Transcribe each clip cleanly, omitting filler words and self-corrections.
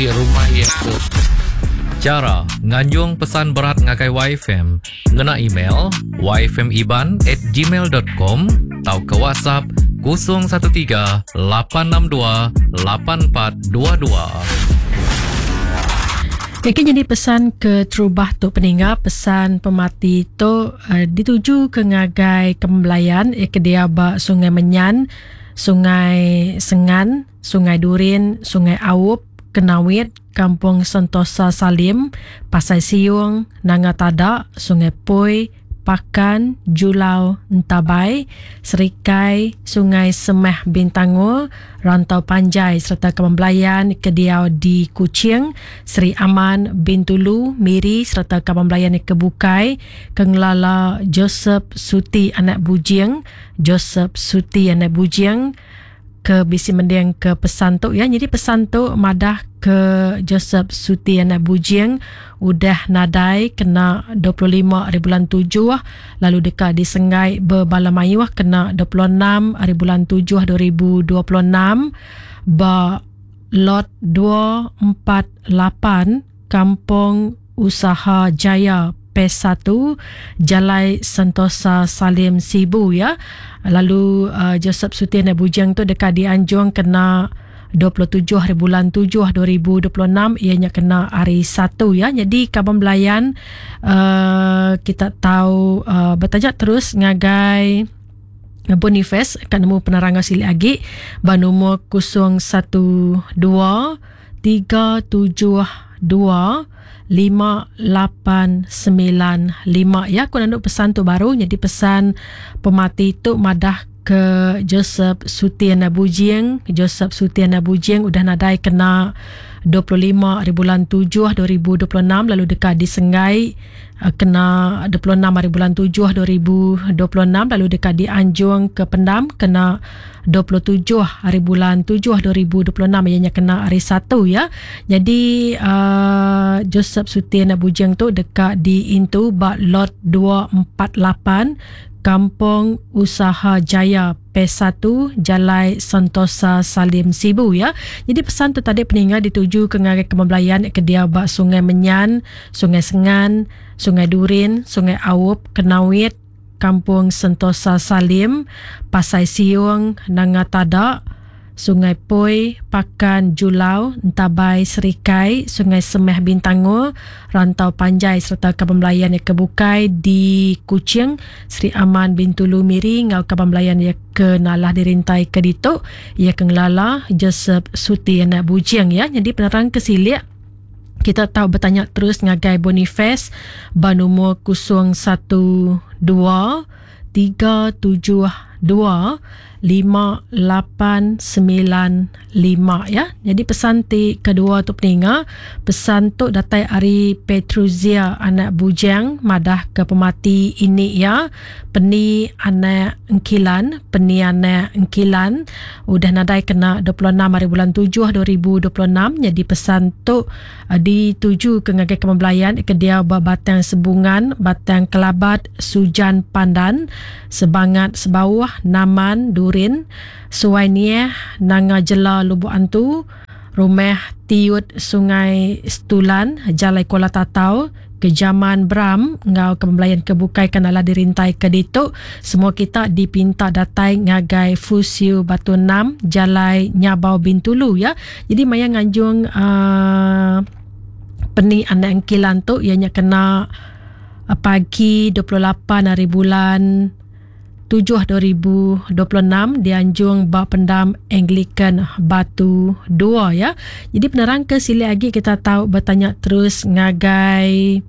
Rumah iya tu. Chara nganjung pesan berat ngagai YFM ngena email yfmiban at gmail dot com tauka WhatsApp 013 862 8422. Eki nyadi pesan ke terubah tu peninga pesan pemati tu uh, dituju ke ngagai kembelayan eh, ke dia ba Sungai Menyan, Sungai Sengan, Sungai Durin, Sungai Aup, Kenawit, Kampung Sentosa Salim, Pasai Siung, Nanga Tada, Sungai Poi, Pakan, Julau, Entabai, Serikai, Sungai Semah Bintangor, Rantau Panjai sereta Kaban Belayan ke diau di Kuching, Sri Aman, Bintulu, Miri sereta kaban belayan ke bukai ke ngelala Joseph Suti anak Bujing, Joseph Suti anak Bujing, ke bisi mending ke pesan tu ya. Jadi pesan tu madah ke Joseph Suti anak Bujing udah nadai kena 25 hari bulan 7 lalu deka disenggai bebala mayuh kena 26 hari bulan 7 2026 ba lot 248 Kampung Usaha Jaya Phase 1 Jalai Sentosa Salim Sibu ya. Lalu uh, Joseph Sutin dan Bujang tu deka dianjung kena 27 hari bulan 7 2026 ianya kena hari 1 ya. Jadi kaban belayan uh, kita tahu uh, bertanya terus ngagai Boniface ka nemu penerang silik agi ba nomor 012 372 5895 ya. Aku nandu pesan tu baru jadi pesan pemati tu madah ke Joseph Sutian Bujing. Joseph Sutian Bujing udah nadai kena 25 hari bulan 7 2026 lalu deka disenggai eh, kena 26 hari bulan 7 2026 lalu deka dianjung ke pendam kena 27 hari bulan 7 2026 ianya kena hari 1 ya. Jadi uh, Joseph Sutin Bujeng tu deka diintu ba lot 248 Kampung Usaha Jaya P1 Jalai Sentosa Salim Sibu ya. Jadi pesan tu tadi peninga dituju ke ngagai kemebelayan ke dia ba Sungai Menyan, Sungai Sengan, Sungai Durin, Sungai Aup, Kenawit, Kampung Sentosa Salim, Pasai Siung, Nanga Tada, Sungai Poi, Pakan Julau, Entabai Serikai, Sungai Semeh Bintangor, Rantau Panjai sereta kaban belayan iya ke bukai di Kuching, Sri Aman, Bintulu, Miri enggau kaban belayan iya ke nalah dirintai ke ditu iya ke ngelala Joseph Suti anak Bujing iya. Nyadi penerang ke silik kita tau betanya terus ngagai Boniface ba numur 012 372 5895 ya. Jadi pesan ti kedua tu peninga, pesan tu datai ari Petruzia anak Bujang madah ke pemati ini ya Peni anak Engkilan, Peni anak Engkilan udah nadai kena 26 hari bulan 7 2026. Nyadi pesan tu eh, dituju ke ngagai kaban belayan ke diau ba Batang Sebungan, Batang Kelabat, Sujan Pandan, Sebangat Sebauh, Naman, Durin, Suai Nieh, Nanga Jela Lubok Antu, Rumah Tiut Sungai Setulan, Jalai Kuala Tatau, Kejaman Bram enggau kaban belayan ke bukai ke nala dirintai ke ditu. Semua kita dipinta datai ngagai Fusiu Batu 6, Jalai Nyabau Bintulu ya. Jadi maya nganjung uh, peni anak engkilan tu ianya kena uh, pagi 28 hari bulan 7 2026 dianjung ba pendam Anglican Batu 2 ya. Jadi penerang ke silik agi kita tau bertanya terus ngagai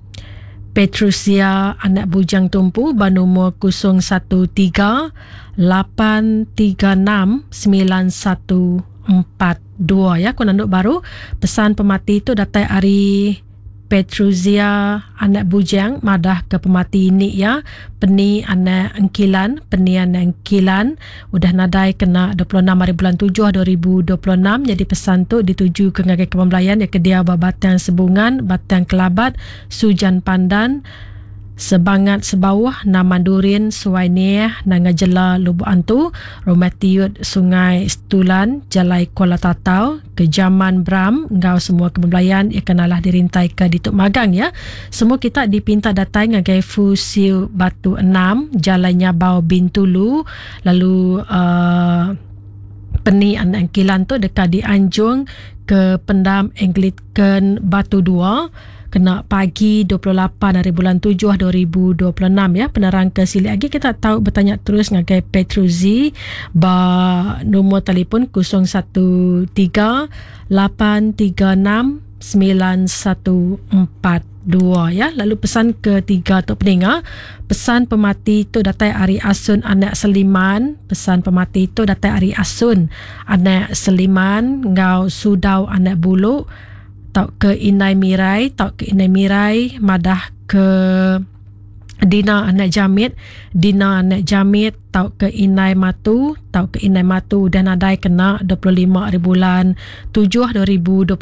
Petrusia anak bujang tumpu ba nomor 013 836 9142 ya. Ku nanduk baru pesan pemati tu datai ari Petruzia anak Bujang madah ke pemati ini iya Peni anak Engkilan Peni anak Engkilan udah nadai kena 26 hari bulan 7 2026. Jadi pesan tu dituju ke ngagai kaban belayan iya ke diau ba Batang Sebungan, Batang Kelabat, Sujan Pandan, Sebangat Sebauh, Naman Durin, Suai Nieh, Nanga Jela, Lubok Antu, Rumah Tiut, Sungai Setulan, Jalai Kuala Tatau, Kejaman Bram enggau semua ke bebelayan iya ke nalah dirintaika ditu magang ya. Semua kita dipinta datai ngagai Fusiu Batu Enam, Jalai Nyabau Bintulu lalu uhh peni anak engkilan tu deka dianjung ke Pendam Anglican Batu Dua kena pagi 28 hari bulan 7 2026 ya. Penerang ke silik agi kita tau betanya terus ngagai Petruzi ba nombor telefon 013 836 9142 ya. Lalu pesan ketiga tu peninga, pesan pemati tu datai ari Asun anak Seliman, pesan pemati tu datai ari Asun anak Seliman enggau Sudau anak Bulu tauka Indai Mirai tauka Indai Mirai madah ke Dina anak Jamit, Dina anak Jamit tauka Indai Matu tauka Indai Matu udah nadai kena 25 hari bulan 7 2026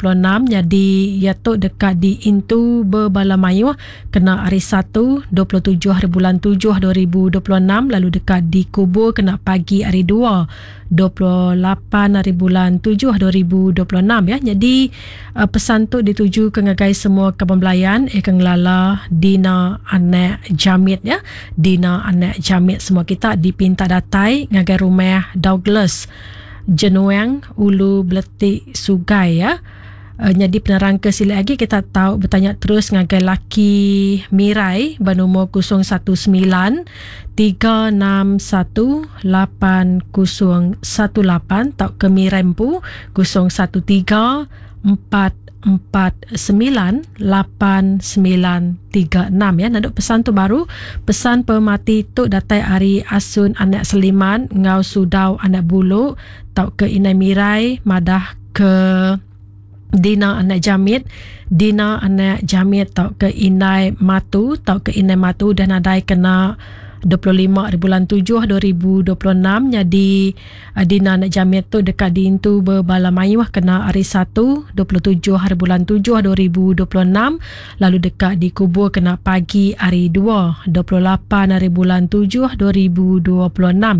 nyadi iya tu deka diintu bebala mayuh kena hari Satu 27 hari bulan 7 2026 lalu deka dikubur kena pagi hari 2 28 hari bulan 7 2026 ya. Jadi uh, pesan tu dituju ke ngagai semua kaban belayan eh ke ngelala Dina anak Jamit ya. Dina anak Jamit semua kita dipinta datai ngagai rumah Douglas Jenuang Ulu Beletik Sugai ya. Uh, nyadi penerang ke silik agi kita tau betanya terus ngagai laki Mirai bernomor 019 361 8018 tauka Mirai empu 013 449 8936 ya. Nanduk pesan tu baru pesan pemati tu datai ari Asun anak Seliman enggau Sudau anak Bulu tauka Indai Mirai madah ke Dina anak Jamit, Dina anak Jamit tauka Indai Matu tauka Indai Matu udah nadai kena 25 hari bulan 7 2026 nyadi eh, Dina anak Jamit tu deka diintu bebala mayuh kena hari 1 27 hari bulan 7 2026 lalu deka dikubur kena pagi hari 2 28 hari bulan 7 2026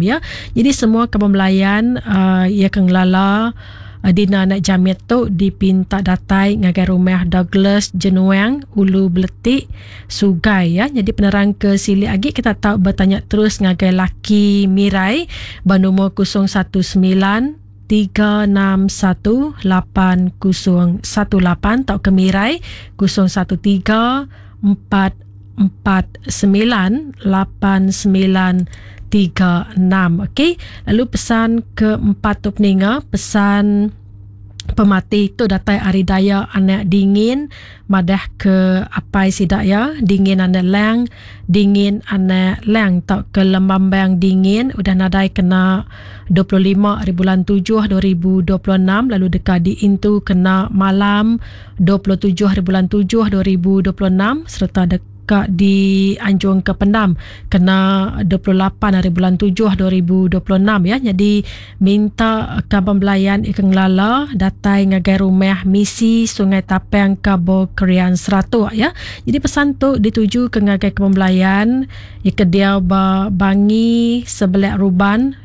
ya. Jadi semua kaban belayan uh, ia ke ngelala Dina anak Jamit tu dipinta datai ngagai rumah Douglas Jenuang Ulu Beletik Sugai ya. Jadi penerang ke silik agi kita tau betanya terus ngagai laki Mirai ba nombor 019 361 8018 tauka Mirai 013 4 49 89 36. Okey. Lalu pesan keempat tu peninga, pesan pemati tu datai ari Daya anak Dingin madah ke apai sida iya Dingin anak Lang, Dingin anak Lang tauka Lembambang Dingin udah nadai kena 25 hari bulan 7 2026 lalu deka diintu kena malam 27 hari bulan 7 2026 sereta deka dianjung ke pendam kena 28 hari bulan 7 2026 ya. Jadi minta kaban belayan ika ngelala datai ngagai rumah misi Sungai Tapang Kabo Krian Seratuk ya. Jadi pesan tu dituju ke ngagai kaban belayan ika diau ba Bangi Sebelak Ruban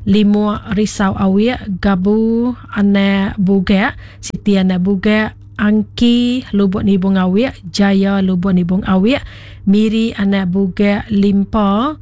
Limuk Risau Awik Gabu Anak Bugek Siti Anak Bugek Angki Lubok Nibong Awik Jaya Lubok Nibong Awik Miri Anak Bugek Limpa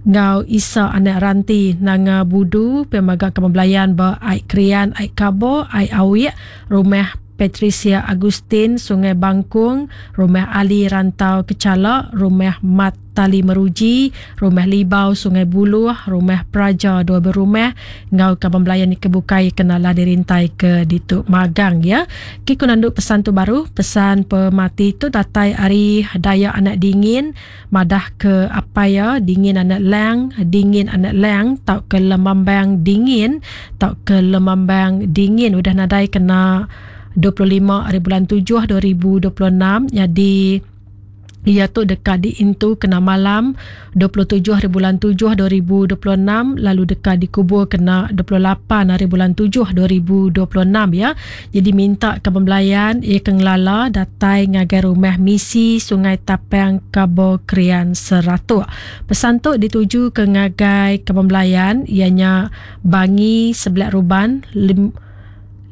enggau Isa Anak Ranti Nanga Budu pia mega ke belayan ba Ai Krian Ai Kabo Ai Awik Rumah Patricia Agustin Sungai Bangkung Rumah Ali Rantau Kechala Rumah Mat Tali Meruji, Rumah Libau Sungai Buluh, Rumah Praja Dua Berumah enggau kaban belayan ke bukai ke nala dirintai ke ditu magang ya. Ki ku nandu pesan tu baru, pesan pemati tu datai ari Dayak Anak Dingin madah ke apai iya Dingin Anak Lang, Dingin Anak Lang tauka Lemambang Dingin tauka Lemambang Dingin udah nadai kena 25 hari bulan 7 2026 nyadi. Iya tu deka diintu kena malam 27 hari bulan 7 2026 lalu deka dikubur kena 28 hari bulan 7 2026 ya. Jadi minta ke pembelayan iya ke ngelala datai ngagai rumah misi Sungai Tapang Kabo Krian Seratuk. Pesan tu dituju ke ngagai ke pembelayan ianya Bangi Sebelah Ruban Lim,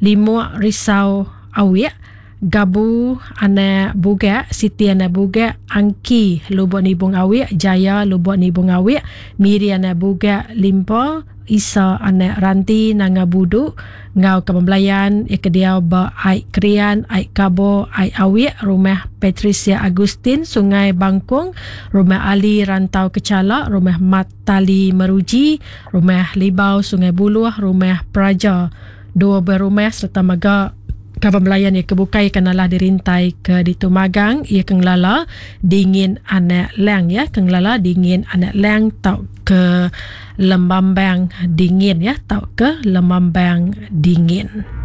Limuk Risau Awik Gabu Anak Bugak, Siti Anak Bugak, Angki Lubuk Nibung Awik, Jaya Lubuk Nibung Awik, Miri Anak Bugak, Limpa, Isa Anak Ranti Nanga Budu, enggau Kaban Belayan, iya ke diau ba Ai Krian, Ai Kabo, Ai Awik, Rumah Patricia Agustin, Sungai Bangkung, Rumah Ali Rantau Kechala, Rumah Mat Tali Meruji, Rumah Libau Sungai Buluh, Rumah Praja. Dua buah rumah sereta mega kaban belayan iya ke bukai ke nalah dirintai ke ditu magang iya ke ngelala dingin anak lang ya ke ngelala dingin anak lang tau ke lembambang dingin ya tau ke lembambang dingin.